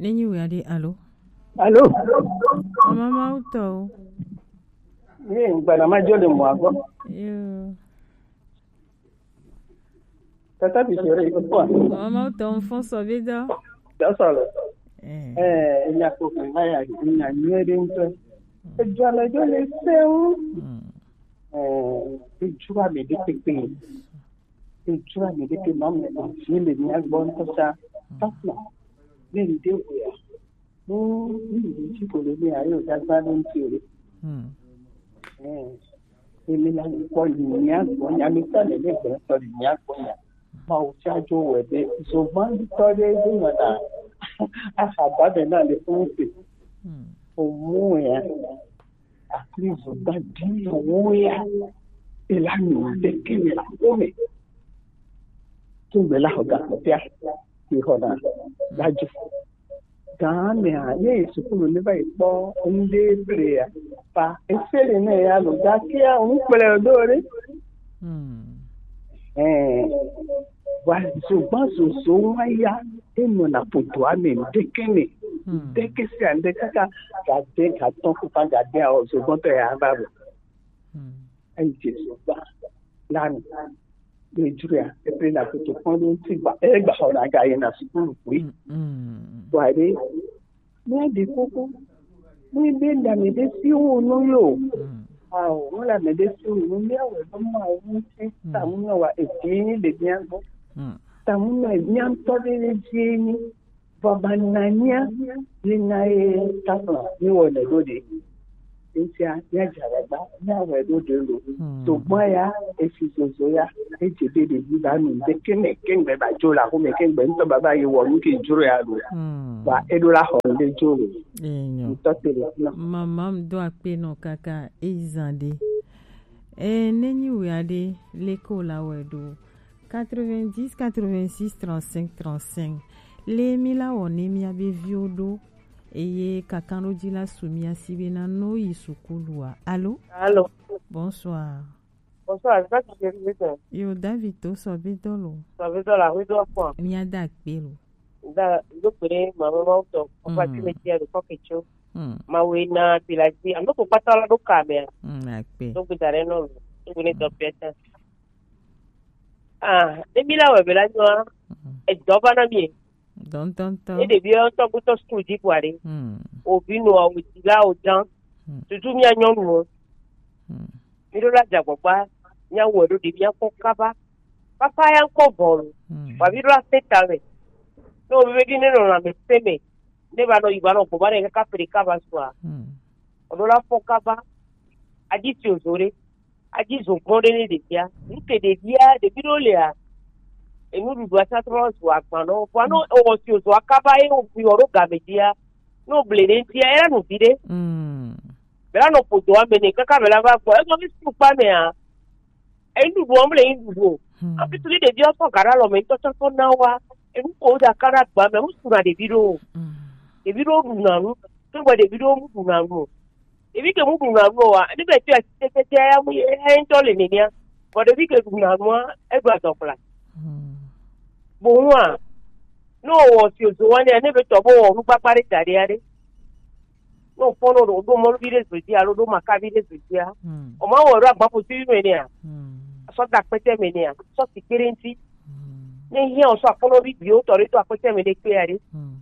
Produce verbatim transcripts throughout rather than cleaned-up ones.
Ne nyi wia ɖe alo? Alo? Mama Mawu tɔ o. Ye ŋgbana ma dzo le mɔa gbɔ. Yo. Tata bi sere iko kpɔ. Mama Mawu tɔ ŋfɔ sɔ be dɔ. Dɔ sɔ le. Eh. Eh, enya ko kan va ya, enya nyuie ɖe ŋutɔ. Edzo ame dzo le sewu. Hmm. Eh, edzo ame ɖe kpekpe. Edzo ame ɖe kpekpe, ma me vi le mia gbɔ ŋutɔ sa. Papa, ne ŋde wea, ne, ne ŋde ŋti ko le mia, ye o dagba ɖe ŋti o ɖe. Hmm. Eh, emi la kpɔ le mia gbɔ, nya mi tɔ le ne gbɔ tɔ le mia gbɔ nya. Mawu tsa dzo wɛ be, zogban tɔ ɖe ɖe nyɔna. Aha ba be na le fun se. Hmm. O mu ya. Akli zogban di wo ya. Ela nu de ke me la ko me. Tun be la ho ga ko tia. Ki ho na. Daju. Gã mea, ne yi sukulu ne va yi kpɔ ŋɖe ble ya, pa efeli ne ya lo, gakia ŋu kplɔe ɖo ɖe. Hmm. Eh, wa zogban zozo wa ya, enɔna ƒodoa me ŋɖeke me. Hmm. Ŋɖeke sia ŋɖe kaka gade gatɔ kufa gade awɔ zogbɔntɔ ya va vɔ. Hmm. Eyi Jesu gba lanu. Be dzroa, eple na kutu kpɔn ɖo ŋuti gba, egba xɔ na ga yi na sukulu kpui. Mm, mm. Gba ɖe, mía ɖe kuku, mí be na me ɖe si wo nu yo. Mm. Ao, mí la me ɖe si wo nu, mía wɛ be ma wo ŋuti, mm, ta mu na wa evi le mía gbɔ. Mm. Ta mu na mía ŋutɔ ɖe le dzi ni. Vɔ bananya ye na ye tafla mi wɔ le ɖo ɖe. Ŋutia mía dze agbagba, mía wɔe ɖo ɖe lo. Hmm. Togbɔ ya, esi zozo ya, edze be ɖevi ba nu ŋde ke me, ke ŋgbe ba dzo le axome, ke ŋgbe ŋutɔ baba ye wɔ nu ke dzro ya lo. Hmm. Ba eɖo la xɔ ŋde dzo lo. Enyo. Ŋutɔ te le fi na. Mama ŋdo akpe nɔ kaka eyi zan ɖe. E, ne nyi wia ɖe, leke wo la wɔe ɖo? Quatre-vingt-dix, quatre-vingt-six, trente-cinq, trente-cinq. Le mi la wɔ ne mia be viwo ɖo eye kakanɖoji la su mia si be na no yi sukulua. Alo? Alo. Bonsoir. Bonsoir, ça tu fais vite. Yo, David to sɔ be dɔ lo. Sɔ be dɔ la, oui, dɔ kpɔ. Mia da akpe lo. Da, do kpere, mama ma tɔ. Papa, mm, tu me tiens de coque et chaud. Mm. Ma we na pilaji. Ano ko pata la do kamera. Mm, akpe. Donc, t'as rien, non. Donc, on est dans le Ah, ne mi la wɛ be la nyɔa, mm, edɔ va na mi. Dɔntɔntɔ. Ne ɖevi ŋutɔ gbutɔ sukulu dzi kpɔa ɖe. Mm. Ovi nɔa, o dzi la, o jan. Mm. Tutu mia nyɔnuwo. Mm. Mi ɖo la dze agbagba, mia wɔ ɖo ɖe mia kpɔ kaba. Papa ya ŋkɔ vɔ lo. Mm. Wa mi ɖo la se ta me. Ne o mi be ɖi ne nɔ lãmesẽ me, ne va nɔ yi va nɔ gbɔ va nɔ yi kaka ƒle kaba sua. Mm. O ɖo la fɔ kaba. Adzi si o zo ɖe. Adzi zo gbɔ ɖe ne ɖevia. Nu ke ɖevia, ɖevi ɖewo lea, enuɖuɖua sa trɔ zu agba nɔ. Vɔa ne ewɔ si wòzu akaba ye wòbui wɔ ɖo game dzia, ne wòble ɖe ŋutia, ela nu viɖe. Mm. Bela nɔ ƒodoa me nɛ kaka bela va gbɔ. Egɔme sukpa mea, enuɖuɖua mele nuɖuɖu o. Mm. Hafi tu ɖe ɖevia sɔ ga ɖe alɔme ŋutɔ tsɔ sɔ na woa, enu ko woda ka ɖe agba me, wosuna ɖevi ɖo. Mm. Ɖevi ɖewo ɖuna nu, ke gbɔ ɖevi ɖewo mu ɖuna nu o. Ɖevi ke mu ɖuna nu oa, ne be tɔe tete ya mu ye ŋutɔ le nenea. Vɔ ɖevi ke ɖuna nua, eɖo adɔkpla. Hmm. Bohua, ne wòwɔ si wòzo wane, ne be tɔ bo wɔ nukpakpa ɖe da ɖe aɖe. Ne wòkpɔ ne ɖo ɖo mɔluvi ɖe zo dzi alo ɖo makavi ɖe zo dzia, hmm, o ma wɔ ɖo agbaƒoti me nea, hmm, sɔ da kpɛtɛ me nea, sɔ si kpe ɖe ŋuti. Hmm. Ne hiã o sɔ akpɔnɔvi gbiwo tɔ ɖe to akpɛtɛ me ɖe kpe aɖe. Hmm.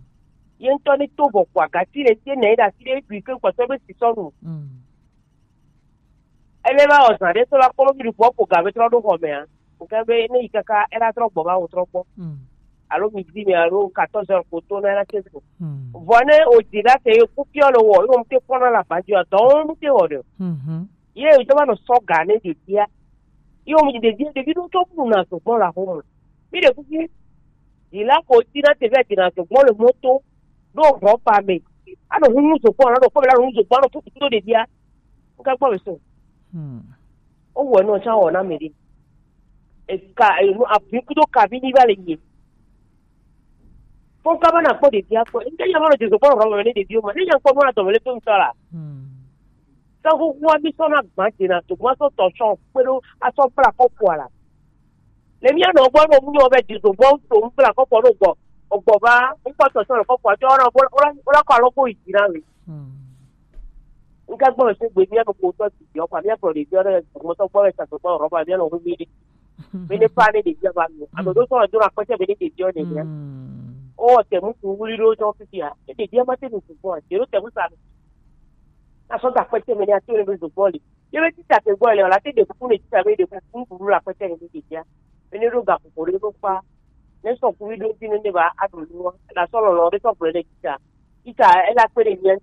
Ye ŋutɔ ne to vɔ ko agati le tie nɛ ɖe asi ɖe ɖui ke kpɔtɔ be si sɔ nu. Mm. Ele va wɔ zã ɖe to la kpɔ ɖo mi ɖu ƒo ga be trɔ ɖo xɔ mea. Nke be ne yi kaka ela trɔ gbɔ va wo trɔ gbɔ. Mm. Alo midi me alo quatorze heures ko to na ela tse ko. Mm. Vɔ ne o di la te ku piɔ le wɔ, yo mu te kpɔna la ba di o, dɔ mu te wɔ de. Mhm. Ye o jɔ va nɔ sɔ ga ne ɖevia. Ye o mu ɖevia, ɖevi ɖo tɔ bu na so gbɔ la xɔ mu. Mi ɖe kuku. Yi la ko ti na te vɛ ti na so gbɔ le moto. Ɖo ʋɔ pa me. Anɔ hu nu so gbɔ, anɔ kpɔ me la nu so gbɔ, anɔ fu kuku ɖevia. Nka gbɔ me so. Hmm. O wɔ no cha wɔ na me ɖe. E ka, e no abi kudo ka bi ni va le nye. Fo ka ba na kpɔ ɖevia kpɔ. Nka ya ma no je so gbɔ ro me ne ɖevia ma. Ne ya kpɔ mo na to me le to mi so la. Hmm. Sɔ hukua mi sɔ na gba dzi na to, ma sɔ tɔ sɔ kpe ɖo asɔ kpla kɔkɔa la. Le mia nɔ gbɔ nɔ mu nyɔ be dzi to gbɔ to mu kpla kɔkɔ ɖo gbɔ, ogbɔ va, kpɔtɔ sɔ le kɔkɔ tɔ na bo la ko alo ko yi na we. Nga gbɔ se gbe mi no ko tɔ ti yo kwa mi ko le yo na mo tɔ gbɔ sa to gbɔ ro ba mi no hu mi. Mi ne pa ne de ya ba mi. Ado do so do na ko se mi ne de yo ne ya. O te mu ku wuli do to fi ya. E de ya ma te mu ku ko. De do te mu sa. Na so da ko se mi ne a to ne do gbɔ le. Ye be tita te gbɔ le, la te de kuku ne tita be de kuku buru la kpɛtɛ ne de dia. Be ne ɖo ga kuku ɖe ɖo kpa. Ne sɔ kuku ɖo ti ne ne ba aɖu nu wa. La sɔ lɔlɔ ɖe sɔ gblɔ ne tita. Tita ela kpe ɖe mia.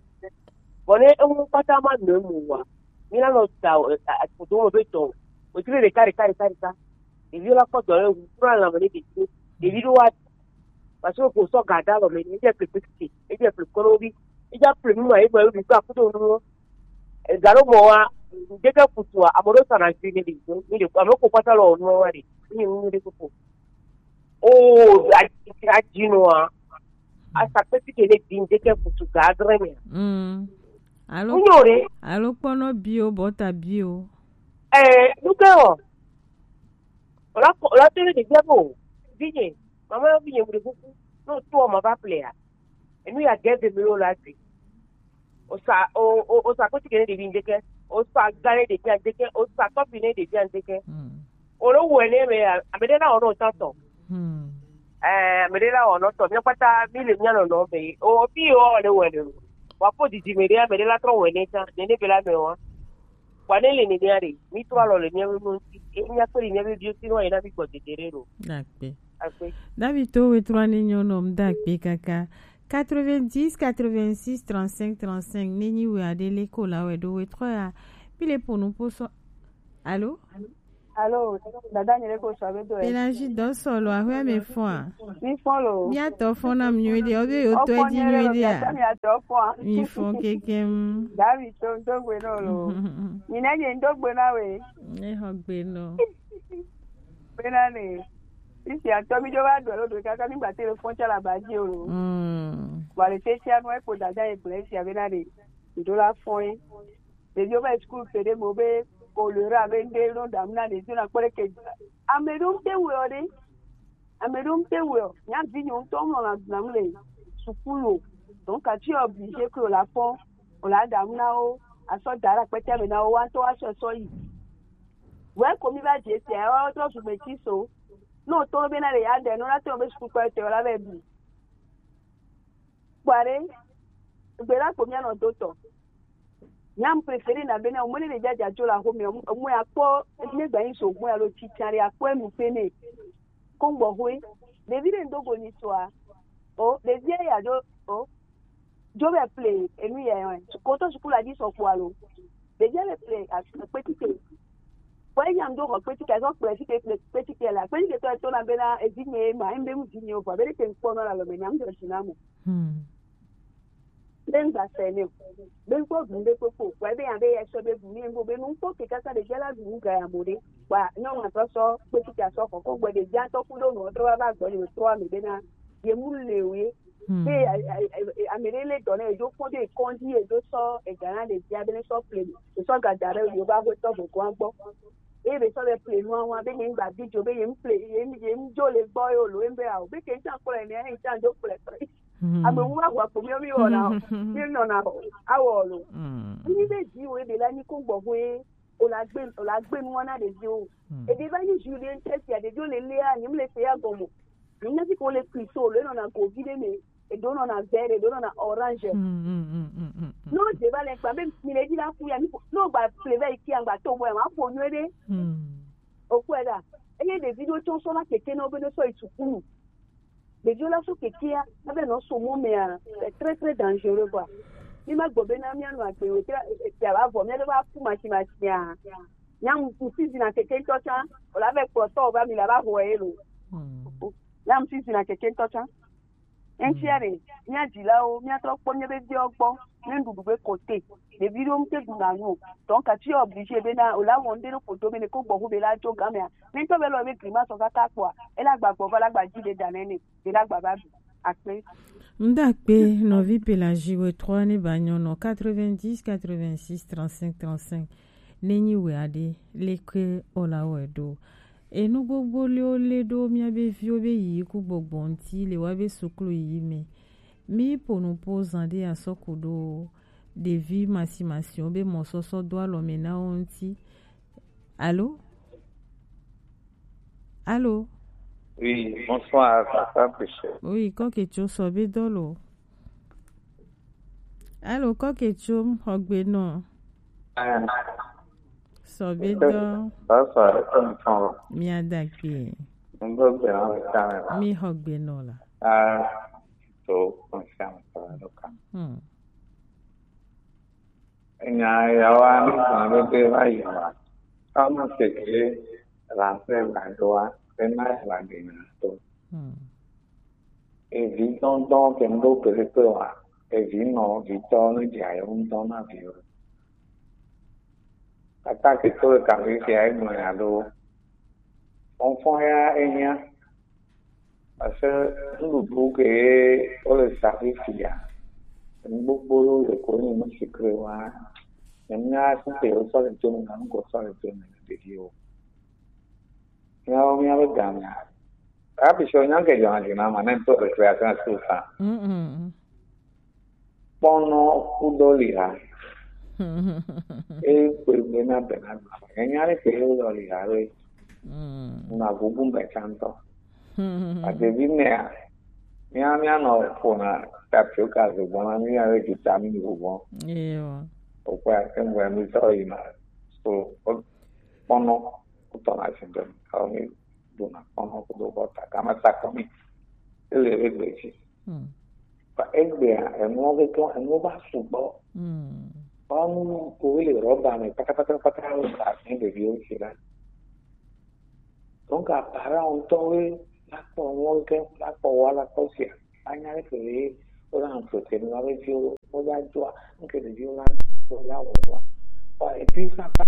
Bɔ ne eŋu kpata ma nɔ emu wa. Mi la nɔ da o, a, a, kudo mo be tɔ. O ti be ɖeka, ɖeka, ɖeka, ɖeka. Ɖevi la kpɔ dɔ le wu kura la me ne ɖevi. Ɖevi ɖo wa. Parce que ko sɔ ga da lɔ me ne, e je ple kpekpe. E je ple kɔnɔ bi. E ja ple nu ma, e ma yo bi ka kudo nu. Galo mɔ wa, ŋdeke kutua, ame ɖewo sana vi ne ɖe, mi ɖe, ame ko kpata le wɔ nua wa ɖe, mi nu ɖe koko. O, a, a dzi nua, a sa kpeti ke ne di ŋdeke kutu ga adre me. Mm. Alo, Unyo ɖe, alo kpɔnɔ bio, bɔta bio. Eh, nuke o. Ola ko, ola tele de gbɛ bo. Vinye, mama vinye mu ɖe kuku. No to ma va plea. Enu ya gɛve mi lo la gbe. O sa, o, o, o sa koti kene ɖevi ŋdeke. O sa gane ɖevi ŋdeke. O sa tɔpi ne ɖevi ŋdeke. Mm. O lo wɔ ne me, ame ɖe la wɔ nɔ tɔtɔ. Mm. Eh, ame ɖe la wɔ nɔ tɔ. Mi kpata mi le mia nɔ nɔ be. O fi o le wɔ ne. Wa po didi me ɖe, ame ɖe la trɔ wɔ ne ta. Ne ne be la me wa. Wa ne le ne mia ɖe. Mi trɔ alɔ le mia me ŋuti. E mia kpe le mia be bio si no ye na mi gbɔ dede ɖe ɖo. Akpe. Akpe. David to we trɔ ne nyɔ nɔ m da akpe kaka. Quatre-vingt-dix, quatre-vingt-six, trente-cinq, trente-cinq. Ne nyi we aɖe le ko la we ɖo we trɔ ya. Pi le po nu po sɔ. Alo? Alo, dada nye le ko sɔ be do e. Pélagie dɔ sɔ lo, ahwe me fɔn a. Mi fɔn lo. Mi atɔ fɔn na mi nyuie ɖe, o be yo tɔ e di nyuie ɖe a. Mi atɔ fɔn a. Mi fɔn kekem. David to ndo gbe no lo. Mi ne nye ndo gbe na we. Ne ho gbe no. Bena ne. Isi atɔ mi jo ba do lo do kaka mi gba téléphone tsa la ba di o lo. Mm. Wa le tete anu e ko dada ye gblẽ sia bena ne. Ndo la fɔn e. Ɖeviwo va yi sukulu ƒe ɖe me be kolera be ŋɖe nɔ ɖam na ɖeviwo nakpɔ ɖe ke. Ame ɖewo ŋute wɔe ɖe. Ame ɖewo ŋute wɔe. Mía vinyɛwo ŋutɔ nɔ la ɖam le sukulu o. Donc, ati obligé que wòle afɔ, wòle aɖam na wo, asɔ da ɖe akpete me na wo, woawo ŋutɔ woasɔ sɔ yi. Wɛ ko mi va dze sia, woawo trɔ zu gbeti so. Ne wòtɔ be na ɖe ya ɖe, ne wola tɔ be sukulukpɔ etɔ la vɛ bu. Kpɔare, gbe la ko mía nɔ do tɔ. Mía mu préféré na bena, omɔ ne le jaja tso la xo me, omɔ ya kpɔ, ne gba yi so, omɔ ya lo titsa ɖe, akpɔ enu pe ne. Ko ŋgbɔ hoe, ɖevi ɖe ŋdo go ni soa, o, ɖevi ya do, o, jo be ple, enu ya, ko to sukulu la di sɔ kpɔ alo. Ɖevi le ple, a, kpetike. Kpɔ eya ŋdo xɔ kpetike, zɔ kple fike, kple kpetike la. Kpetike tɔ to na bena, evi nye ma, embe mu vi nye o, vɔ, be ɖe ke ŋkpɔ nɔ la lo me, nya ŋdo si na mo. Hmm. Be ŋgba se nɛ o. Be ŋkpɔ gu ŋɖe kpokpo. Wa be ya be ya sɔ be gu mi ŋgo be nu ŋkpɔ ke kaka ɖe jala gu ŋga ya mo ɖe. Wa nyɔnu atɔ sɔ kpeti ta sɔ kɔkɔ gbɔ ɖe ja tɔ ku ɖo nɔ trɔ va gbɔ ɖe trɔ ame be na ye mu le o ye. Hmm. Be a- a- a- ame ɖe le dɔ ne edzo kpɔ ɖe kɔndzi edzo sɔ ega na ɖe via be ne sɔ ple me. Esɔ ga da ɖe yewo va xɔ tɔ gbɔgbɔ gbɔ. Eye be sɔ be ple nua wa be nye ŋgba di dzo be ye ŋple ye ŋdzo le gbɔ ye o lo ye ŋbe a o be ke ŋtsa kplɔe ne ye ŋtsa dzo kplɔe kplɔe. Hmm. Ame wu wa wa kpo mi mi wɔna mi nɔna awɔ lo. Hmm. Mi be di wo ebe la ni ko gbɔ hoe o la gbe o la gbe nua na ɖeviwo. Hmm. Ebe va ni ju ɖe ŋtɛ sia ɖeviwo le lea nyim le se ya gɔmɔ. Mi nya fi ko le kristo lo nɔna govi ɖe me. Eɖo nɔna vert, eɖo nɔna orange. Hmm, hmm, hmm, hmm, hmm, hmm. No dze va le kpa be mi le dzi la ku ya mi ko no gba ple va yi kia gba to bo ya ma ƒo nyuie ɖe. Hmm. Okpɔe ɖa. Eye ɖevi ɖewo tsɔ sɔ la keke na wo be ne sɔ yi sukulu. Ɖeviwo la sɔ kekea ebe nɔ so mɔ mea, c'est très très dangereux quoi. Mi ma gbɔ be na mia nɔ agbe o te te ava vɔ mia ɖe va ku masi masi a. Nya mu si zina keke ŋutɔ tsã, o la vɛ kplɔ tɔ o va mi la va vɔ ye lo. Hmm. Nya mu si zina keke ŋutɔ tsã. Eŋtsia ɖe, mía dzilawo, míatrɔ kpɔ míabe viwo gbɔ, ne nuɖuɖu be kote. Ɖevi ɖewo ŋute ɖuna nu o. Donc, ati obligé bena, wòle awɔ ŋɖe ɖe ƒodo be ne ko gbɔ ƒo be la dzo gamea. Ne ŋutɔ be lɔ be grimace kaka kpɔa, ele agba gbɔ va la gba dzi ɖe da nɛ ne, be la gba va ɖu. Akpe. Ŋda kpe nɔvi Pélagie we trois ne ba nyɔnɔ quatre-vingt-dix, quatre-vingt-six, trente-cinq, trente-cinq. Ne nyi we aɖe, leke o la wɔe ɖo. Enu gbogbo liwo le ɖo míabe viwo be yiyi ku gbɔgbɔ ŋuti le woabe suklu yiyi me. Mi po nu po zan ɖe asɔ ku ɖo ɖevi masimasiwo be mɔsɔsɔ do alɔ me na wo ŋuti. Alo? Alo? Oui, bonsoir, papa Michel. Oui, kɔke tso sɔ be dɔ lo. Alo, kɔke tso xɔgbe nɔ. Ah. Sɔ be dɔ. Bonsoir, bonsoir. Mi ada kpe. Ŋgɔ gbe na le ta me la. Mi xɔgbe nɔ la. Ah, to konsiam ta lo kan. Hmm. Nya ya wa ni kan be be va yi ma. Kama se ke la se la do wa, be na la de na to. Hmm. Evi dɔndɔn ke ŋɖo kpekpe wa. Evi nɔ vitɔ ne dze ayo ŋdɔ na viwo. Kata ke to le kafi sia egblɔ nya ɖo. Fɔnfɔn ya ehiã. Parce que nuɖuɖu ke wole sa fifia, nu gbogbo ɖewo le ko nyi nu si ke wa. Nyemenya si ke wosɔ le do me, nu ko sɔ le do me na ɖeviwo. Míawo míabe gamea, hafi sɔ nya ke dzɔna dzi na ma ne ŋutɔ récréation su sa. Mm, mm, mm. Kpɔnɔ kudɔ li ha. E kpe be na be na gba. Enya ɖe ke wo lɔ li ha ɖe. Mm. Na gugu me tsantɔ. Mm. Adevi nea, mía, mía nɔ ƒona tapioca zogbɔn na mía ɖe vitamin vogbɔn. Ewa. Okpɔa, eŋgɔe mi sɔ yina. So, o-, kpɔnɔ, wotɔna asi ɖe me. Awo mi ɖuna kpɔnɔ kudo bɔta. Gama sakɔmi. Ele egbe dzi. Hmm. Ba egbea, enuwo be tɔ, enuwo va sugbɔ. Hmm. Ba nu ko le rɔba me patapata, patapata, wo sa ne ɖeviwo si la. Donc, parents ŋutɔwoe la kpɔ nuwo ke, la kpɔ wa, la kpɔ sia. Anya ɖe ke ye, wo la entretien wa be viwo, wo la doa, nke ɖeviwo la, wo la wɔ wa. Wa, et puis ça, ça,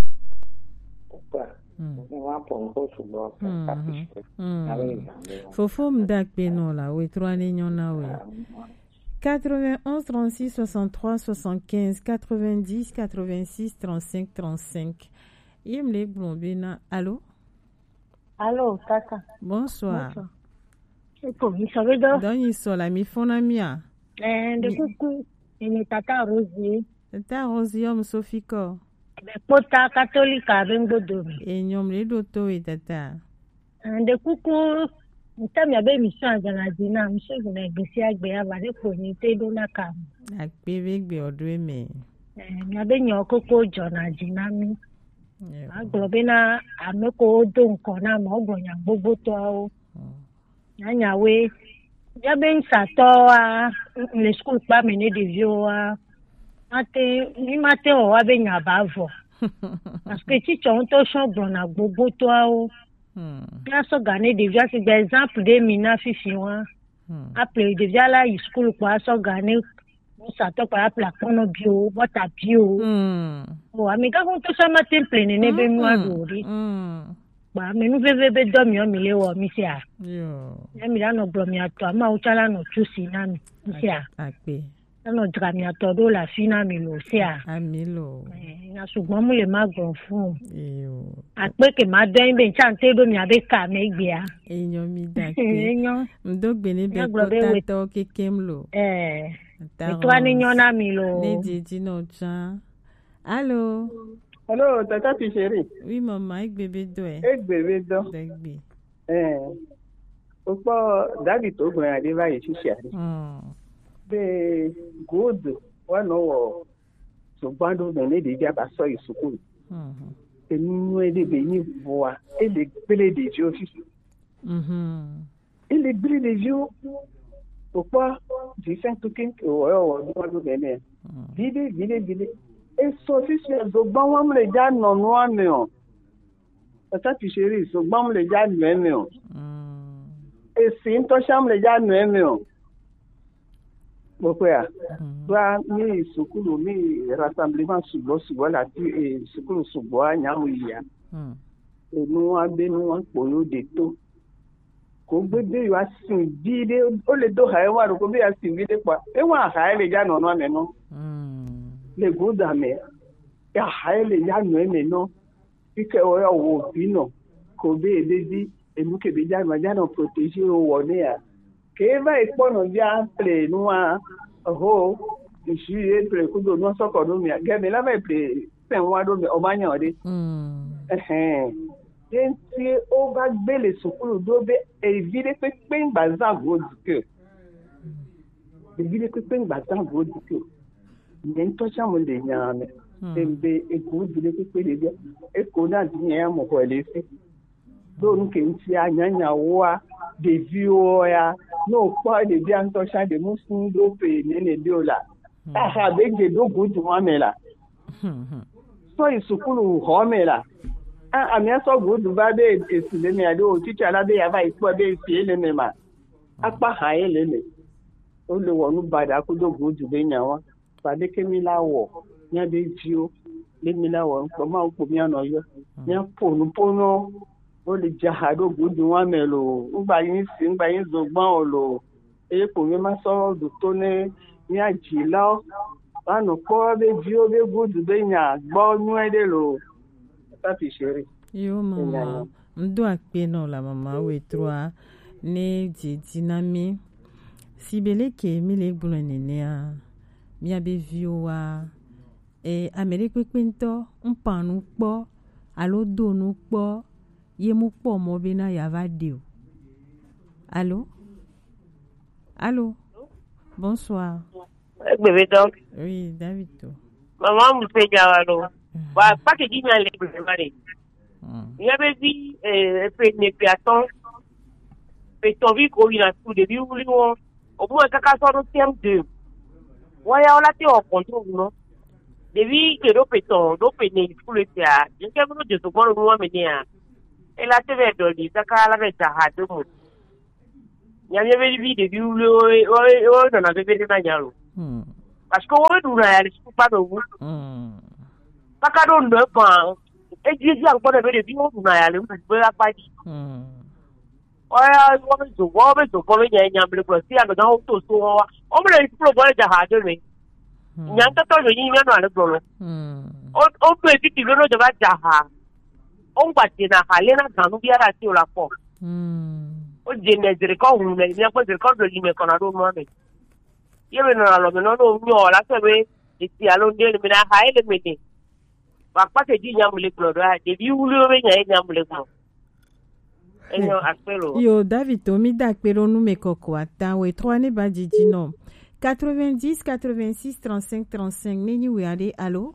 quoi. Hmm. Ni wa pɔ ŋutɔ sugbɔ, ça, ça, hmm, ça, hmm. Fofo m da kpe nɔ la, we trɔ ne nyɔ na we. Ah, quatre-vingt-onze trente-six soixante-trois soixante-quinze, quatre-vingt-dix quatre-vingt-six trente-cinq trente-cinq. Ye m le gblɔ be na, alo? Alo, tata. Bonsoir. Bonsoir. Eko, mi sɔ be dɔ? Dɔ nyi sɔ la, mi fɔna mia? Eh, de mi kuku, emi tata Rosie. Tata Rosie, ɔm Sophie kɔ. Be kpota katolika be ŋgbodo mi. E nyɔm le ɖo to we tata. Eh, de kuku, ŋutɔ mia be mi sɔ azana dzi na, mi sɔ zina gbesi agbe ya va de ko ni te ɖo na ka. Akpe be gbe ɔdo eme. Eh, mia be nyɔ koko dzɔna dzi na mi. Ewa. Magblɔ bena ame ko wodo ŋkɔ na ma, wogblɔ nya gbogbotɔawo. Hmm. Nyanyawoe. Míabe nusatɔwoa, le sukulu kpa me ne ɖeviwoa, mate, mi mate wɔ wa be nya ba vɔ. Parce que tsitsɔ ŋutɔ sɔ gblɔna gbogbotɔawo. Hmm. Míasɔ ga ne ɖevia, sigbe exemple ɖe mi na fifi wa. Hmm. Aple ɖevia la yi sukulu kpa asɔ ga ne nusatɔ kpa aple akpɔnɔ bio, bɔta bio. Hmm. O, ame gã ŋutɔ sɔ mate ple nene be nua ɖo ɖi. Hmm. Kpa ame nu veve be dɔ miɔ mi le wɔ mi sia. Yo. Ne mi la nɔ gblɔ mia tɔ, ama wo tsã la nɔ tsu si na mi. Mi sia. Akpe. Anɔ dzra mia tɔ ɖo le afi na mi lo sia. Ami lo. Eh, na sugbɔ mu le ma gblɔ fun. Yo. Akpe ke ma dɔ be ntsa nte ɖo mia be ka me gbea. Enyo mi da akpe. Enyo. Ŋdo gbe ne be kota tɔ kekem lo. Eh. Etɔa ne nyɔ na mi lo. Ne didi nɔ tsã. Allô? Allô, tata Picheri. Oui, maman, egbe be dɔe. Egbe be dɔ. Degbe. Eh. Okpɔ David to gblɔ ya ɖe va yi fifia ɖe. Hmm. Be good wa nɔ wɔ zogban ɖo mɛ ne ɖevi aba sɔ yi sukulu. Hmm. Enu nyuie ɖe be nyi vɔa, ele gble ɖeviwo fifi. Mhm. Ele gble ɖeviwo. Okpɔ Vincent Tukin, ewɔ, ewɔ, ɖo, ɖo nene. Mm. Viɖe, viɖe, viɖe. Esɔ fifia zogban wa mle dza nɔ nua me o. Tata Picheri, zogban mle dza nɔ eme o. Mm. Esi ŋutɔ sha mle dza nɔ eme o. Kpɔkpɔa, mm, va mi sukulu, mi rassemblement sugbɔ, sugbɔ la ti, e, sukulu sugbɔ a nya mu yia. Mm. Enu wa be nu wa kpo yo de to. Ko gbe be yo asi vi ɖe, o le do ha e wa ɖo ko be asi vi ɖe kpa. E wa ha e le dza nɔ nɔ ame nɔ. Mm. Le go da me. Ya ha e le dza nɔ eme nɔ. Fi ke wo ya wo vi nɔ. Ko be e be vi, enu ke be dza nɔ, dza nɔ protéger wo wɔ ne ya. Ke va yi kpɔ nɔvia ple nua, ho, ju ye ple kudo nua sɔkɔ ɖo mia, gɛ mi la va yi ple sɛn wa ɖo mi, o ma nya o ɖe. Mm. Ɛhɛn. Ye ŋuti o va gbe le sukulu ɖo be evi ɖe kpekpe ŋgba zã go du ke o. Evi ɖe kpekpe ŋgba zã go du ke o. Nye ŋutɔ tsã mo le nya me. Mm. Be egu du ɖe kpekpe ɖe bia. Eko na di nya ya mo xɔ le fi. Ɖo nu ke ŋuti a nyanya woa, ɖeviwo ya, ne wokpɔ ɖevia ŋutɔ tsã ɖe mu sun ɖo pe nene ɖo la. Hmm. Aha be dze ɖo gudu wa me la. Hmm, hmm. Sɔ yi sukulu xɔ me la. A amia sɔ gudu va be esi le me aɖo titsa la be ya va yi kpɔ be esi le me ma. Akpa ha ye le me. Wo le wɔ nu baɖa kudo gudu be nya wa. Fade ke mi la wɔ, mia be viwo, be mi la wɔ ŋkpɔ, Mawu kpo mia nɔ yɔ. Mia po nu po nɔ, wo le dza ha ɖo gudu wa me lo, ŋgba nyi si, ŋgba nyi zogban o lo, eye kpo mi ma sɔ ɖu to ne mia dzilawo, wa nɔ kpɔ be viwo be gudu be nya gbɔ nyuie ɖe lo. Papi chéri. Yo, mama, ŋdo akpe nɔ la mama wetroa ne dzedzi na mi. Si be leke mi le gblɔe nenea, mia be viwo wa, e, ame ɖe kpekpe ŋutɔ ŋpa nu kpɔ alo do nu kpɔ ye mu kpɔ mɔ be na ya va ɖe o. Alo? Alo? Bonsoir. Egbe be dɔ. Oui, David to. Mama mu pe ja wa lo. Wa pa ke di mi ale gbe ma le. Mm. Mia be vi, eh, pe ne pe atɔn. Pe tɔn vi ko yina su ɖevi wuli wo. O mo kaka sɔ ɖo C M deux. Wa ya o la te o contrôle no. Ɖevi ke ɖo pe tɔn, ɖo pe ne su le tia. Je ke mo je so gbɔ nu wa me ne a. E la te be dɔ di kaka la be da ha de mo. Nya mi be vi ɖevi wuli wo, wo, wo nɔna be be na nya lo. Mm. Parce que wo ɖu na ya le su pa do wu. Mm. Kaka ɖo ŋdɔ kpa. Edzi edzi agbɔ ɖe be ɖeviwo ɖuna ya le ŋgbe akpa dzi. Mm. Oya, wo be zo, wo be zo, wo be nya nya ble gblɔ si ame gã wo to so wo wa. Wo me le kplo gbɔ le dza ha do me. Mm. Nya ŋtɔtɔ yo nyi nya nɔ ale gblɔ lo. Mm. O, o be titi lo no dza va dza ha. O ŋgba dze na ha le na ganu bia la ti o la kpɔ. Mm. O dze ne zere kɔ hu ne, mia kpɔ zere kɔ do yi me kɔ na ɖo nua me. Ye be nɔ alɔ me nɔ no nyɔ la se be esi alo ŋde le me na ha ele me ne. Wa kpake dzi nya mu le gblɔ ɖo a, ɖevi wluwo be nya ye nya mu le gblɔ. Enyo akpe lo. Yo, David to mi da akpe ɖo nu me kɔkɔ ata we trɔ ne ba dzidzi nɔ. Quatre-vingt-dix, quatre-vingt-six, trente-cinq, trente-cinq, ne nyi we aɖe, alo?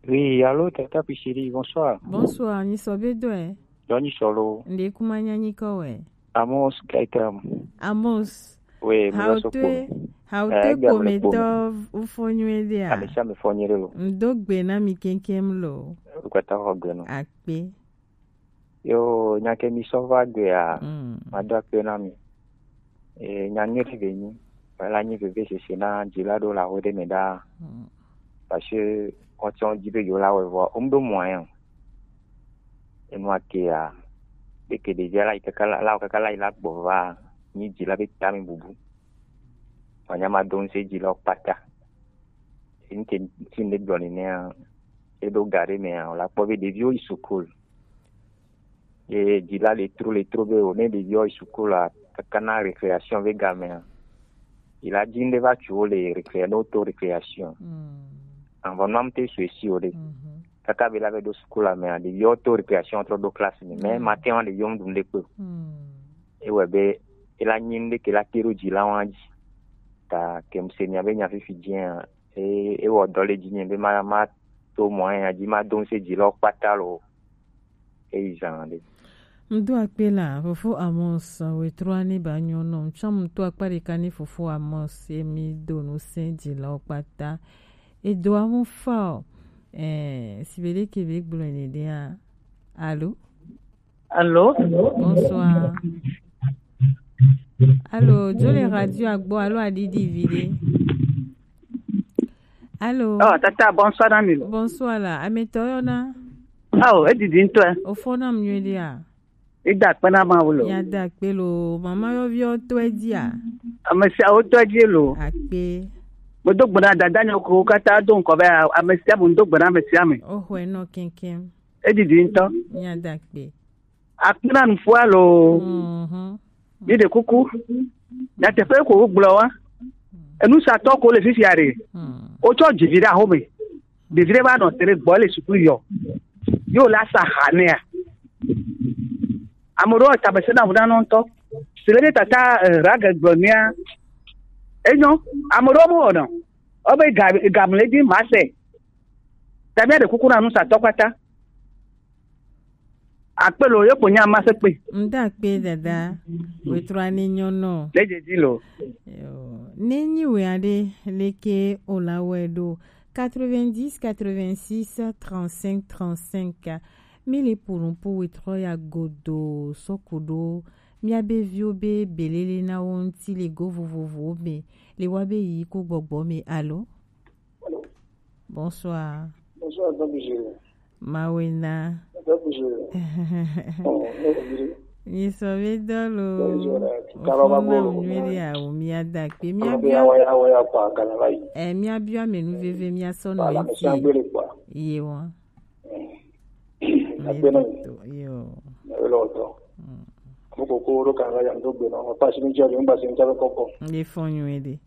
Oui, allô, Tata Pichiri, bonsoir. Bonsoir, nyi sɔ be dɔe. Dɔ nyi sɔ lo. Nde kuma nya nyi kɔ we. Amos Gaetam. Amos. Oui, mi va so kpo. Haute, haute kometɔ ufo nyuie ɖe a? Ame sia ame fɔ nyuie ɖe lo. Ŋdo gbe na mi keŋkeŋ lo. Wokpata xɔ gbe nɔ. Akpe. Yo, nya ke mi sɔ va gbea, mm, mado akpe na mi. E, nya nyuie ɖe be nyi. Ela nyi vevesese na dzila ɖo le aho ɖe me ɖaa. Mm. Parce que wotsɔ dzi be yewo la wɔe vɔ, wo mu ɖo moyen o. Enua kea, be ke ɖevia la yi kaka la, la kaka la yi la gbɔ va, nyi dzila be tami bubu. Wanya ma do ŋse dzilawo kpata. Ŋke ŋti ne gblɔ nenea, eɖo ga ɖe mea, wòla kpɔ be ɖeviwo yi sukulu. Ye dzila le tro le tro be o, ne ɖeviwo yi sukulu la, kaka na récréation be gamea, yi la dzi ŋɖe va tsu wo le récré-, ne woto récréation. Mm. Anvɔ nua mte su esi o ɖe. Mhm. Kaka be la be ɖo sukulu la mea, ɖeviwo to récréation trɔ ɖo classe me. Mais, mm, matin wa ɖeviwo mu ɖu ŋɖe kpe o. Mm. Ewɔe be, ela nyi ŋɖe ke la te ɖo dzila wa dzi. Ta ke mu se mia be nya fifi dzia, e, ewɔ dɔ le dzi nye be ma, ma to mɔ ya dzi ma do ŋse dzilawo kpata lo. Eyi zan ɖe. Ŋdo akpe la, fofo Amos, wetrɔ ne ba nyɔ nɔ. Ŋtsɔ ŋutɔ akpa ɖeka ne fofo Amos, ye mi do nu se dzilawo kpata. Edo amu fa o. Eh, si be ɖe ke be gblɔ ne ɖea. Alo? Allô? Bonsoir. Allô, dzo le radio agbɔ alo aɖiɖi vi ɖe? Allô? Oh, tata, bonsoir na mi lo. Bonsoir la. Ametɔ yɔna? Oh, edidi ŋutɔ. Ofɔ nam nyuie ɖea? Eda akpe na Mawu lo. Ya da akpe lo. Mama yɔviwo tɔe dzia? Ame siawo tɔe dzie lo. Akpe. Medo gbe na dada nyewo kewo katã do ŋkɔ be ame sia ame, medo gbe na ame sia ame. Oxɔe nɔ keŋkeŋ. Edidi ŋutɔ. Ya da akpe. Akpe na nuƒoa loo. Mhm. Mi ɖe kuku. Nyateƒe ko wogblɔ wa. Enusatɔ ko le fifia ɖe. Wotsɔ dzivi ɖe axome. Ɖevi ɖe va nɔ te ɖe gbɔ le suku yɔ. Yo la sa ha nɛa. Ame ɖewo ta bese na ŋu na nɔ ŋutɔ. Si le ɖe tata eh, rage gblɔ nɛa. Enyo. Ame ɖewo mo wɔnɔ. Obe ga gamle di ma se. Tabi de kuku na nusatɔ kpata. Akpe lo, ye ko nya ma se kpe. Nda kpe dada. Wetrɔ ani nyɔnɔ. Le je di lo. Yo. Ne nyi we aɖe leke o la wɛ ɖo quatre-vingt-dix quatre-vingt-six trente-cinq trente-cinq. Mi le punu pu wetrɔ ya godo sɔku ɖo. Mia be viwo be belele na wo ŋuti le go vovovowo me le wa be yi ku gbɔgbɔ me alo. Bonsoir. Bonsoir, Docteur Gilles. Mawena. Docteur Gilles. Oh, oh, Gilles. Nyisɔ be dɔ lo. Docteur Gilles, tu kalo ba bolo. Nyuie de awo mia da kpe mia bia. Awo ya, awo ya kwa kana la yi. Eh, mia bia menu veve mia sɔ no. Ala me eti. Sangbele kwa. Ye wa. Agbe na mi. Yo. Na wele oto. Mo ko ko ro kana la ya ndo gbe na. Mo pa si mi jari ngba si mi jari koko. Nde fo nyuie de.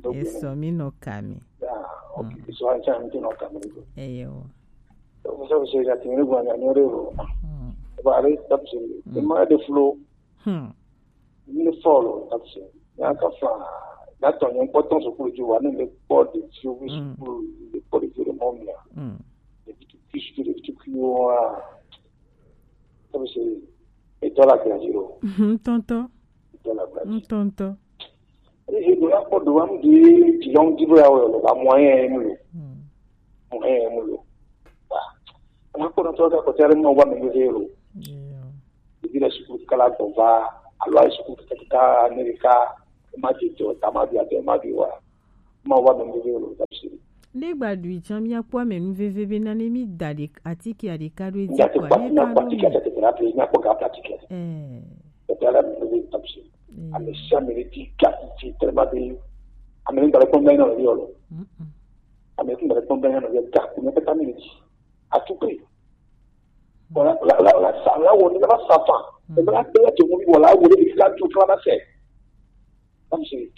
Esɔ mi nɔ ka mi. Ya, ok. So an chan ti nɔ ka mi. Eyo. So so se ya ti ni gwa nya ni re ro. Ba re tap se. Ma de flo. Hmm. Ni follow tap se. Ya ka fa. Na to nyen kpɔtɔ sukulu ji wa ni le kpɔ de ti o sukulu le kpɔ de ti o mɔ mi a. Hmm. De ti ki su de ti ki o a. Tap se. E to la gbe ji ro. Ntɔntɔ. Ntɔntɔ. Ehe do la kpɔ do wa mu di ti yɔn di bo ya wɔ lo ba moyen mu lo. Moyen mu lo. Ba. Ala kpɔ na to ka ko tare mo wa me lo. Ibi la sukulu kala gbɔ va alo ayi sukulu kaka kaka Amerika ma di to ta ma di ate ma di wa ma wa me lo lo ta si. Ne gba ɖui tsã míakpɔ ame nu veve be nane mi da ɖe atike ɖeka ɖo edzi. Míate kpɔ atike atike atike na pe míakpɔ ga atike. Eh. Eta la mi veve ta si. Ame sia ame ɖe ti ga ti tellement be ame ne gbalẽ kpɔm na nɔ yɔ lo. Ame ne gbalẽ kpɔm na nɔ yɔ ga ko ne peta mi ti. À tout prix. Voilà, la la la sa la wo ne la sa fa. Ne la pe la to mo bi wala wo le la tu fla na se. Comme c'est.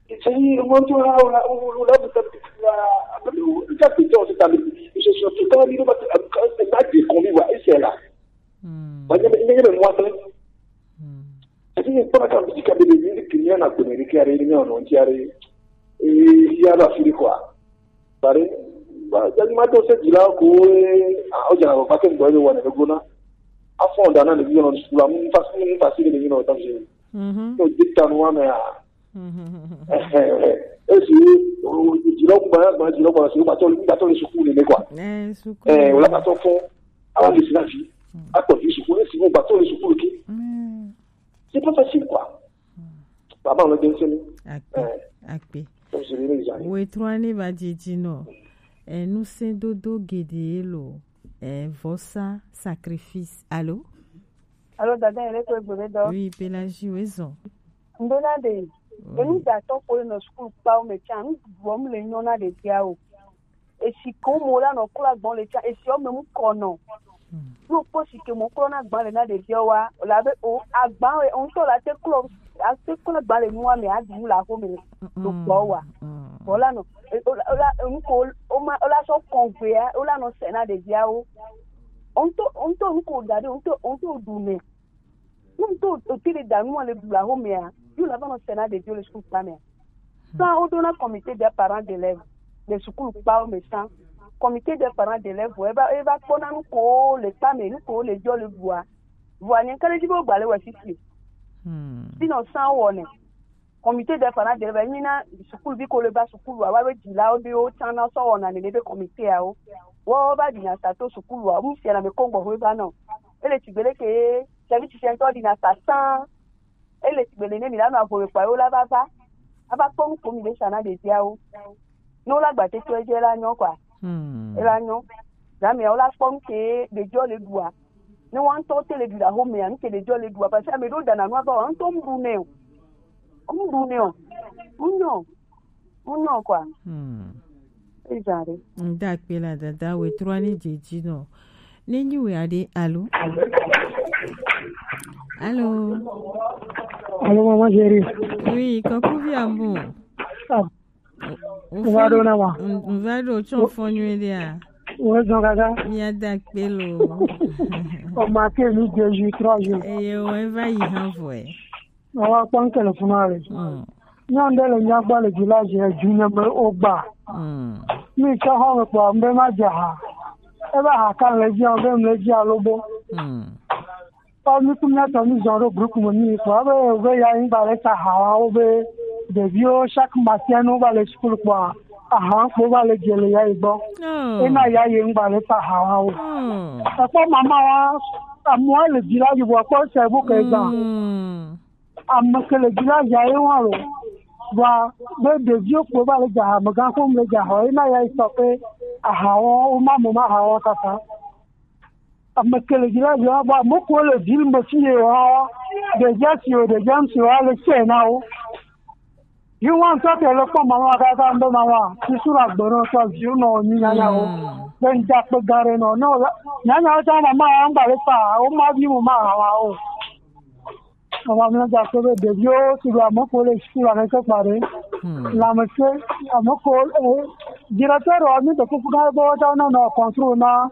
C'est une montre là, on a on a vous tapé là. Après le gars qui dort c'est à lui. Je suis tout à lui va te va te commis va et c'est là. Ba ne ne ne mo ate. Ati ni kpɔna kan bi ka bebe ni ki ni na ko ne ki are ni no ti are. E ya ba fili quoi. Bare ba ya ni ma to se dila ko e a o jana ba ke ndo ni wa ne go na. A fo da na ni no sukulu mu fa mu fa si ni no ta je. Mhm. To dikta no wa me a. Esi jira gba gba jira gba si gba to gba to le sukulu ne kwa. Eh, sukulu. Eh, wala gba to fo. Awa le sina fi. Akpɔ fi sukulu si gba to le sukulu ki. C'est pas facile quoi. Baba on le bien sini. Akpe. Akpe. Comme c'est bien déjà. Wetrɔ ani ba didi no. Eh, nu se dodo gede lo. Eh, vosa sacrifice. Allô? Alo dada yẹn lẹkọọ egbò mi dọ. Oui, Pelagie, oui, zɔn. Ndona de. Enu da tɔ ko le nɔ sukulu kpawo me tsa nu bɔ mu le nyɔ na de dia o. Esi ko mo la nɔ kura gbɔn le tsa esi ɔme mu kɔ nɔ. Yóò kpɔ si ke mo kura na gbɔn le na de dia wa la be o agba o ŋutɔ la te kura la te kura gbɔn le nua me adi mu la ko me do gbɔ wa. Bɔ la nɔ o la o la enu ko o ma o la sɔ kɔn gbea o la nɔ sɛ na de dia o. Ŋutɔ ŋutɔ nu ko da ɖi ŋutɔ ŋutɔ ɖu nɛ. Ne ŋutɔ ote ɖe da nua le bla xo mea, yo la va nɔ sena ɖeviwo le sukulu kpa mea. Sã woɖona comité des parents d'élèves le sukulu kpawo me sã. Comité des parents d'élèves eva eva kpɔna nu ko le kpa me, nu ko le dzɔ le ɖua. Vɔa nye ŋke ɖe dzi be wogba le wɔ sisi. Sinɔ sã wɔnɛ. Comité des parents d'élèves enyi na sukuvi ko le va sukulu ava be dzilawo be wotsã na sɔ wɔna nene be comité awo. Wo va ɖina sa to sukulu awo mu fiana me ko gbɔ ƒe va nɔ. Ele tsi gbele ke service sɛntɔ ɖina sa sã. Ele tsi gbele ne mi la nɔ avo me kpa yo la va va. Ava kpɔ nu ko mi be sa na ɖeviawo. Ne wola gba tete edze la nyɔ kɔa. Ela nyɔ. Zã mea wola kpɔ nu ke ɖeviwo le ɖua. Ne woa ŋutɔ te le ɖu le axomea, nu ke ɖeviwo le ɖua, parce que ame ɖewo dana nua va wa ŋutɔ mu ɖu nɛ o. Mu ɖu nɛ o. Mu nyɔ. Mu nyɔ kɔa. Hmm. Eza ɖe. Ŋda akpe la dada we trɔ ni dze dzi nɔ. Ne nyi we aɖe alo. Alo. Allô, maman chérie. Oui, coucou, Viambo. Ah, on va donner moi. On va donner au fond, nuit, là. Ouais, donc, gaga. Il y a d'acpelo. On m'a fait nous deux jours, trois jours. Et on va y renvoyer. On va prendre le téléphone avec. Hmm. Nyɔnu ɖe le mía gbɔ le village yɛ, Duneme wogba. Mm. Mi tsɔ xɔ me kpɔ, mbe ma dze ha. Ebe ha ka le dzi, be mle dzi alo bo. Mm. Kpɔ mi ku mía tɔ mi zɔ ɖo groupe me mi kpɔ, ebe, ebe ya yi ŋgba le ta ha wa wo be ɖeviwo chaque matin no va le school kpɔ, aha kpo va le dze le ya yi gbɔ. Oh. Ena ya yi ŋgba le ta ha wa wo. Mm. Ekpɔ mama wa, amoa le village vɔ kpɔ se bu ke gba. Mm. Ame ke le village ye wa lo. Vɔa, be ɖeviwo kpo va le dze ha, amegã ƒom le dze ha, ena ya yi sɔ pe aha wɔ, wo ma mo ma aha wɔ kaka. Ame ke le village wa, vɔa, ame ko le ville me fi ye wa, ɖevia si o, ɖevia ŋuti wa le se na wo. Yi wa ŋutɔ ke le kpɔ mama kaka ŋbe mama, susu la gbe nɔ tɔ viwo nɔ nyi nyanya wo. Hmm. Be ŋdza kpe gã ɖe nɔ, nɔ la, nyanya wo tsã mama wa ŋgba le fa, wo ma vi mo ma aha wa o. Ava míaɖe akpe be ɖeviwo si ɖo ame ko le suku la keke kpa ɖe. Hmm. Lãmesẽ, ame ko, eh, directeur ɖewo mi de kuku na be woatsɔ nɔ nɔ contrôle na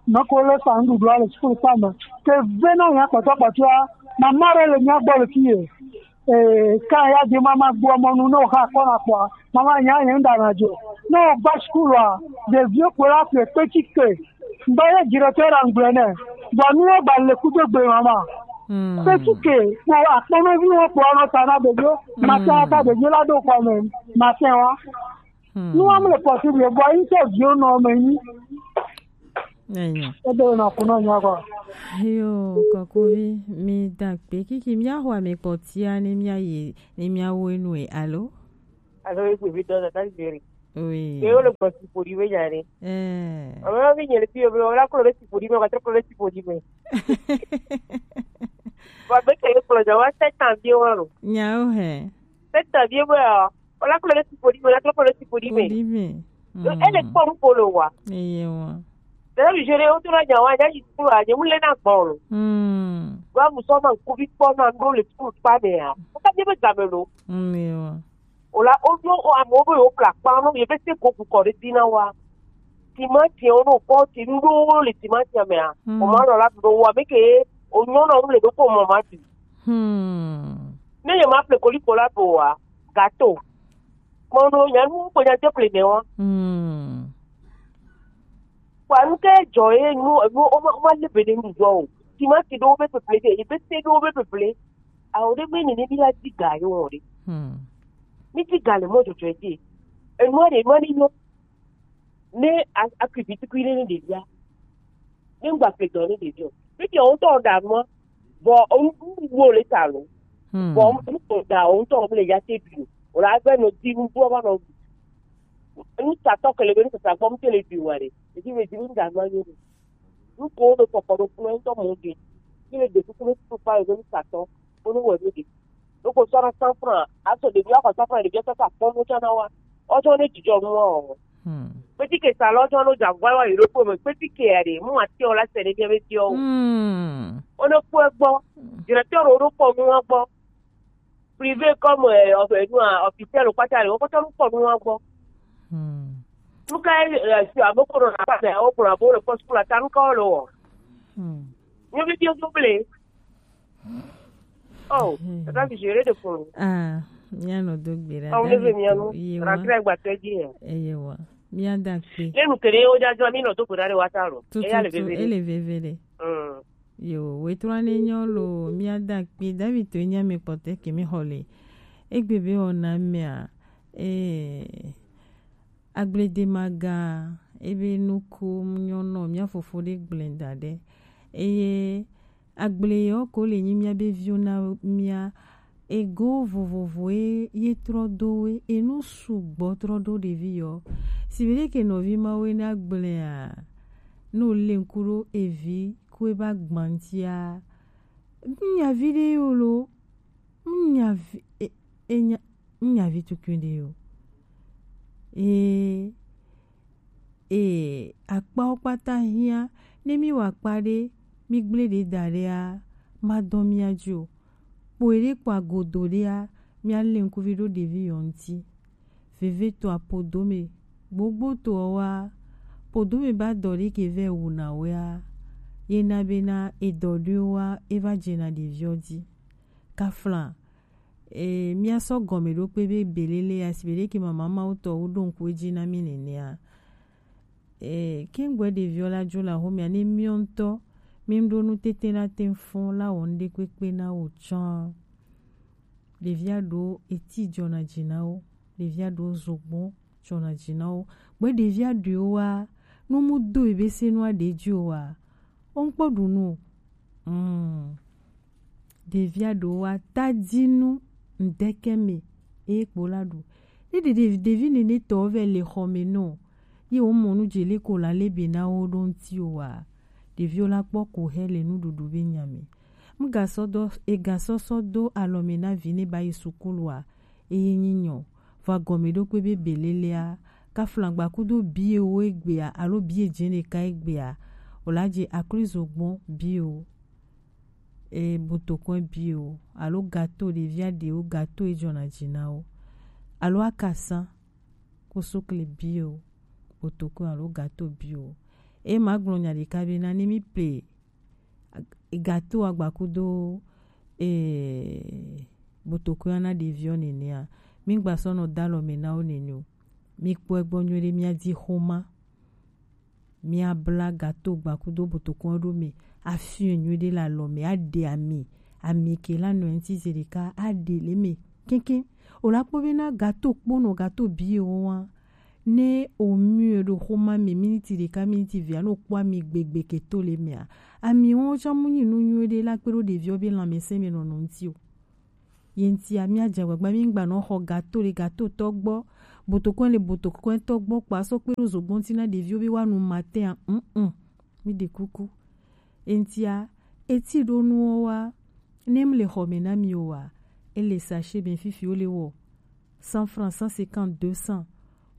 ame ko le sa nuɖuɖua le suku kpa me. Ke ve na mía kpɔtɔ kpɔtɔa, mama ɖe le mía gbɔ le fi ye. Eh, ka ya di mama gbɔ mɔnu ne wo ha kɔ na kpɔa, mama nya ye ŋda na dzo. Ne wo gba suku la, ɖeviwo ko la ƒle kpetsi ke. Ŋdɔ ye directeur la ŋgblɔe nɛ. Vɔ nu ye gba le kudo gbe ma ma. Hmm. Kpetsi ke kpo akpɔnɔvi wo kpo anɔ ta na ɖevio. Hmm. Mate ata ɖevio la ɖo kɔ me. Mate wa. Hmm. Nu wa mle possible. Vɔ yi tɔ vio nɔ me nyi. Enyo. Ebe na kunɔ nya kɔ. Yo, kɔkuvi, mi da kpe kiki mi axɔ ame kpɔtia ne mi ayi, ne mi awo enue, alo? Alo, e gbe vi dɔ da ta zeri. Oui. Ke wo le gbɔ si ƒo ɖi be nya ɖe. Eh. Ame ma vi nye le fi yo be wo la klo ɖe si ƒo ɖi me, wa trɔ klo ɖe si ƒo ɖi me. Wa be ke kplɔ dza wa sept ans vie wa lo. Nyawo he. Sept ans vie be, o la klo ɖe si ƒo ɖi me, la trɔ klo ɖe si ƒo ɖi me. Ƒo ɖi me. Yo, ele kpɔ nu ƒo le wa. Eye wa. Ɖe mi jere wo to la nya wa, nya yi tu a, nye mu le na gbɔ lo. Hmm. Wa mu sɔ ma kuvi kpɔ na ŋɖo le tu kpa me a. Wo ka nye be game lo. Hmm, eye wa. O la, o ɖo o amewo be yewo kpla kpa nɔ, ye be se go kukɔ ɖe dzi na wa. Timati wo no kpɔ ti nuɖowo le timati mea. Hmm. O ma nɔ la ɖo wa, be ke o nyɔ nɔ le ɖo ko mɔ ma ti. Hmm. Ne ye ma ple koliko la ɖo wa, gato. Kpɔ ɖo, nya nu ko nya te ple ne wa. Hmm. Kpa nu ke dzɔ ye nu, nu, o ma, o ma le be ne nu dzɔ o. Timati ɖo be peple de, ye be se ɖo be peple. Awo ɖe be nene mi la di ga yo wɔ ɖe. Hmm. Mi di ga le mɔ dzɔdzɔ dzi. Enua ɖe, enua ne nyɔ. Ne a-, akui vitukui ɖe ne ɖevia. Ne ŋgba ƒle dɔ ne ɖevia o. Ne ɖevia wo ŋutɔ ɖa nua, vɔ o nu, nu wo le ta lo. Hmm. Vɔ nu ko da o ŋutɔ le ya te bi o. O la gbe no di nu do va nɔ. Nu tatɔ ke le be nu tata gbɔ mu te le bi wa ɖe. Edi me di nu da nua yo ɖe. Nu ko wo ɖo kpɔkpɔ ɖo kplɔ ŋutɔ mo ɖe. Ye le ɖe kuku ɖe kuku kpa ye ɖo nu tatɔ. Wo nu wɔ ɖo ɖe. Ɖo ko sɔ na cent francs. Aso ɖevi wa xɔ cent francs, ɖevi wa sɔ ta kpɔ nu tsɔ na wa. Ɔjɔ ne dzidzɔ nu wa o. Hmm. Kpetike sa lɔ jɔ no dza vɔ wa yi ɖo ko me. Kpetike ya ɖe. Mu ati o la se ne bia be ti o. Hmm. O ne kpɔ gbɔ. Directeur o ɖo kpɔ nu wa gbɔ. Privé comme, euh, enfin, nous, euh, officiel ou pas, on peut nous prendre un bon. Hmm. Nous, quand, euh, sur un bon, on a pas fait, on prend un bon, le poste pour la table, quand on le voit. Hmm. Nous, nous, nous, nous, nous, oh, hmm, c'est pas que gérer de fond. Ah, mia no do gbera. Ah, on est venu, nous. Rentrer avec batterie. Eyewa. Mia da kpe. Ne nous créons déjà, nous, nous, nous, nous, nous, nous, tutu, ele veve de. Hmm. Yo, wetrɔ ne nyɔ lo, mia da kpi David to nya mi kpɔtɛ ke mi xɔ le. Egbe be wɔna mea, eh, agble de maga, ebe nuku nyɔ nɔ mia fofo ɖe gblẽ da ɖe. Eye agble yɔ ko le nyi mia be viwo na mia ego vovovoe ye trɔ do we, enu sugbɔ trɔ do ɖevi yɔ. Si be ɖe ke nɔvi mawe na gblẽa, no le ŋku ɖo evi ku ebe agbantia. Ŋnyavi ɖe yo lo, ŋnyavi, e, e nya, ŋnyavi tukui ɖe yo. E, e, akpawo kpata hiã, ne mi wa akpa ɖe, mi gblẽ ɖe da ɖea, ma dɔn mia dzi o. Kpo eɖe kpo agodo ɖea, mía lɛnkuvi ɖo ɖevi yɔ ŋuti. Veve to apodome, gbogbo to ɔ wa, podome ba dɔ ɖe ke vɛ wu na wɛa, ye na be na edɔ ɖo wa, e va dze na ɖeviɔ dzi. Kafla, e, mía sɔ gɔme ɖo kpe be belele, asi be ɖe ke mama mawo tɔ wo ɖo ŋku edzi na mí nenea. E, ke ŋgbɛ ɖeviɔ la dzo le axomea, ne míɔ ŋutɔ, mí ɖo nu tete la te fɔn la wɔ ŋɖe kpekpe na wo tsã. Ɖevia ɖo eti dzɔna dzi na wo, ɖevia ɖo zogbɔn dzɔna dzi na wo. Gbɛ ɖevia ɖoe wa, nu mu do ebe se nua ɖe dzi o wa, o ŋkpɔ ɖu nu o. Mm. Ɖevia ɖo wa tadinu ŋdɛkɛ me eye kpo la ɖu. Ne ɖe ɖevi, ɖevi nene tɔ vɛ le xɔ me nɔ, ye wo mɔ nu dze le ko la le be na wo ɖo ŋuti o wa, ɖeviwo la kpɔ ko hɛ le nuɖuɖu be nya me. Ŋgasɔ dɔ, egasɔsɔ do alɔ me na vi ne ba yi sukulu a, eye nyi nyɔ. Vɔ agɔme ɖo kpe be belelea, kaflagba kudo bie wo egbea, alo bie dze ɖeka egbea, o la dze aklizo gbɔn bie wo. E, botokɔe bio, alo gato, ɖevia ɖewo gato e dzɔna dzi na wo, alo akasa, kosokle bio, botokɔe alo gato bio. E ma gblɔ nya ɖeka be na ne mi ple gato agbakudo, e, botokɔe na ɖeviɔ nenea, mi gba sɔ nɔ da alɔ me na wo nene o. Mi kpɔe gbɔ nyuie ɖe, mia di xoma. Mia bla gato gbakudo botokɔn ɖo me, afiɔn nyuie ɖe le alɔ me, aɖe ami, ami ke la nɔ ŋuti ze ɖeka, aɖe le me keŋkeŋ. O la kpɔ be na gato kponɔ, gato bie wo wa, ne o miɔe ɖo xoma me miniti ɖeka, miniti evea, ne o kpɔ ami gbegbe ke to le mea, ami wo tsã mu nyi nu nyuie ɖe la kpe ɖo ɖeviwo be lãmesẽ me nɔnɔ ŋuti o. Ye ŋutia, mía dze agbagba, mí ŋgba nɔ xɔ gato le gato tɔ gbɔ, botokɔe le botokɔe tɔ gbɔ, kpa sɔ kpe ɖo zogbɔn ti na ɖeviwo be woanu matin a, mm, mm. Mí ɖe kuku. Ye ŋutia, eti ɖo nuwo wa, ne mi le xɔ me na mi o wa, ele sachet me fifi wo le wɔ cent francs, cent cinquante, deux cents.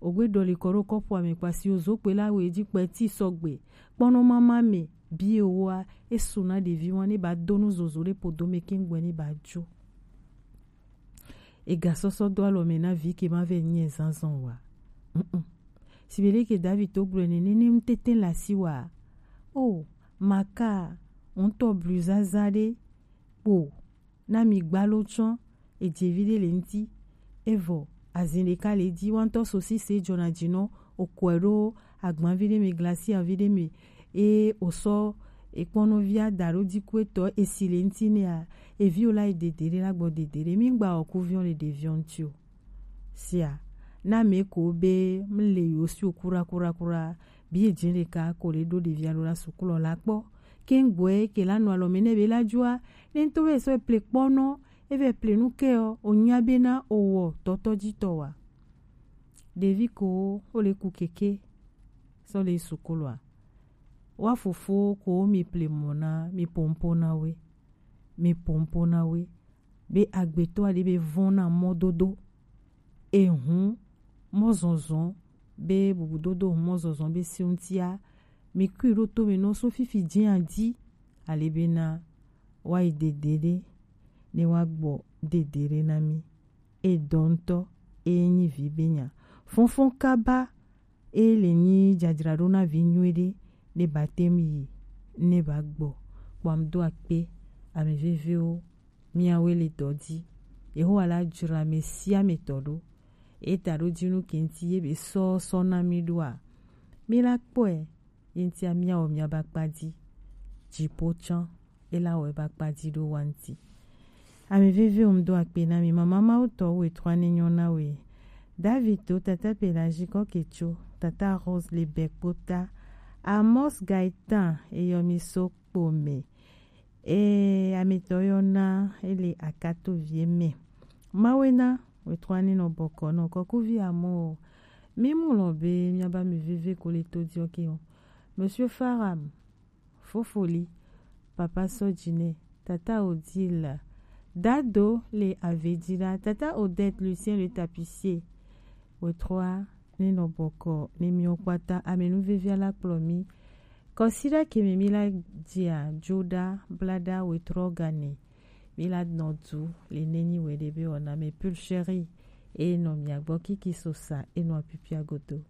Ogbe ɖɔli kɔ ɖo kɔpu ame kpasi o zo kpe la we dzi kpe ti sɔgbe. Kpɔnɔ mama me bie woa, esu na ɖevi wa ne ba do nu zozo ɖe podo me kengbe ne ba jo. Egasɔsɔ do alɔ me na vi ke ma vɛ nyi ezazɔn wa. Mm-mm. Sibele ke David to gblɔe ne nenem tete la si wa. O, maka, ŋutɔ blu zaza ɖe kpo na mi gbalo tsɔ edze vi ɖe le ŋuti. Evɔ azin ɖeka le dzi, wantɔ sosise dzɔna dzi nɔ, okɔe ɖo agbavi ɖe me, glacia vi ɖe me, eye osɔ ekpɔnɔvia da ɖo dziku etɔ esi le ŋuti nɛa, eviwo la yi dede ɖe la gbɔ dede ɖe. Mi gba ɔkuviɔ le ɖeviɔ ŋuti o. Sia, na me ko be mle yo si o kura kura kura, bi edze ɖeka ko le ɖo ɖevia ɖo la sukulu la kpɔ. Kengbe ke la nɔ alɔ me ne be la dzoa, ne ŋutɔ be sɔ ple kpɔnɔ, e vɛ ple nu ke ɔ, o nya be na o wɔ tɔtɔ dzi tɔ wa. Ɖevi ko o le ku keke sɔ le sukulu a. Wa fofo ko mi ple mɔ na, mi pompo na we. Mi pompo na we. Be agbetɔ aɖe be vɔn na mɔdodo. Ehun mɔzɔzɔ be bubudodo hun mɔzɔzɔ be si ŋutia, mi kui ɖo to me nɔ so fifi dzi adi. Ale be na wa yi dede ɖe, ne wa gbɔ dede ɖe na mi. Edɔ ŋutɔ, e nyi vi be nya. Fɔnfɔn kaba, e le nyi dzadzraɖo na vi nyuie ɖe, ne ba tem yi, ne ba gbɔ. Kpɔ am do akpe, ame vevewo, miawoe le dɔ dzi. Yehowa la dzra ame sia ame tɔ ɖo. Eta ɖo dzinu ke ŋuti ye be sɔ sɔ na mi ɖoa, mi la kpɔe, ye ŋutia miawɔ miaba kpa dzi. Dziƒo tsã, ela wɔ eba kpa dzi ɖo wa ŋuti. Ame vevewo ŋdo akpe na mi. Mama Mawu tɔ wo etrɔ ne nyɔ na we. David to tata Pelagie kɔ ke tso, tata Rose le bɛ kpota. Amos Gaetan eyɔ mi so kpo me. Ee, ametɔ yɔ na ele akato vie me. Mawe na wetrɔ ani nɔ bɔkɔ nɔ kɔkuvi amɔ o. Mi mu lɔ be miaba mi veve ko le to diɔ ke o. Monsieur Faram, Fofoli, Papa Sɔdzinɛ, Tata Odile, Dado le Avedila, Tata Odette, Lucien le tapissier. Wetrɔ ne nɔ bɔkɔ ne miwo kpata ame nu vevia la kplɔ mi. Kɔsiɖa ke me mi la dzia dzoɖa blaɖa wetrɔ gane. Mi la nɔ du le nenyi wɛ ɖe be wɔna me pulcherie e nɔ mia gbɔ kiki so sa e nɔ apipia godo.